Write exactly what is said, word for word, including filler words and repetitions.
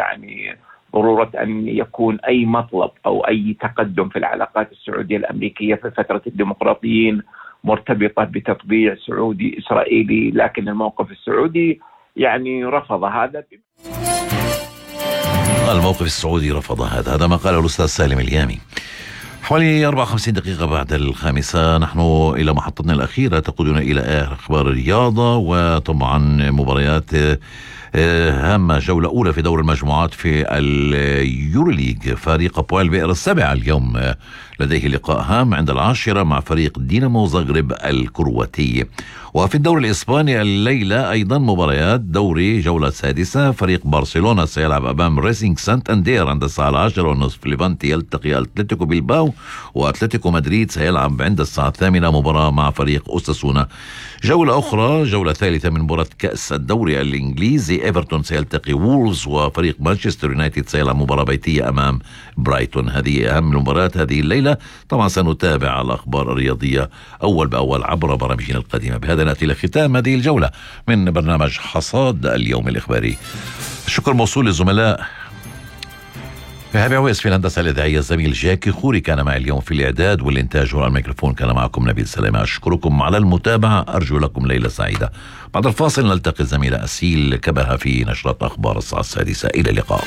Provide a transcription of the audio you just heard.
يعني ضرورة أن يكون أي مطلب أو أي تقدم في العلاقات السعودية الأمريكية في فترة الديمقراطيين مرتبطة بتطبيع سعودي إسرائيلي، لكن الموقف السعودي يعني رفض هذا. الموقف السعودي رفض هذا هذا ما قاله الأستاذ سالم اليامي. حوالي أربعة وخمسين دقيقة بعد الخامسة نحن إلى محطتنا الأخيرة تقودنا إلى أخبار الرياضة، وطبعا مباريات هامة. جولة أولى في دور المجموعات في اليوروليج، فريق بوال بئر السبع اليوم لديه لقاء هام عند العاشرة مع فريق دينامو زغرب الكرواتي. وفي الدور الإسباني الليلة أيضا مباريات دوري جولة سادسة، فريق برشلونة سيلعب أمام ريسينج سانتاندير عند الساعة العاشرة والنصف، ليفانتي يلتقي أتلتيكو بيلباو، وأتلتيكو مدريد سيلعب عند الساعة الثامنة مباراة مع فريق أوساسونا. جولة أخرى، جولة ثالثة من مباراة كأس الدوري الإنجليزي، إيفرتون سيلتقي وولز، وفريق مانشستر يونايتد سيلعب مباراة بيتية أمام برايتون. هذه أهم المباريات هذه الليلة. طبعا سنتابع الأخبار الرياضية أول بأول عبر برامجنا القديمة. بهذا نأتي لختام هذه الجولة من برنامج حصاد اليوم الإخباري. الشكر موصول للزملاء فهبي عويس في الهندسة الإذاعية، الزميل جاكي خوري كان معي اليوم في الإعداد والإنتاج والميكروفون، كان معكم نبيل سلامة. أشكركم على المتابعة، أرجو لكم ليلة سعيدة. بعد الفاصل نلتقي الزميلة أسيل كبها في نشرة أخبار الساعة السادسة. إلى اللقاء.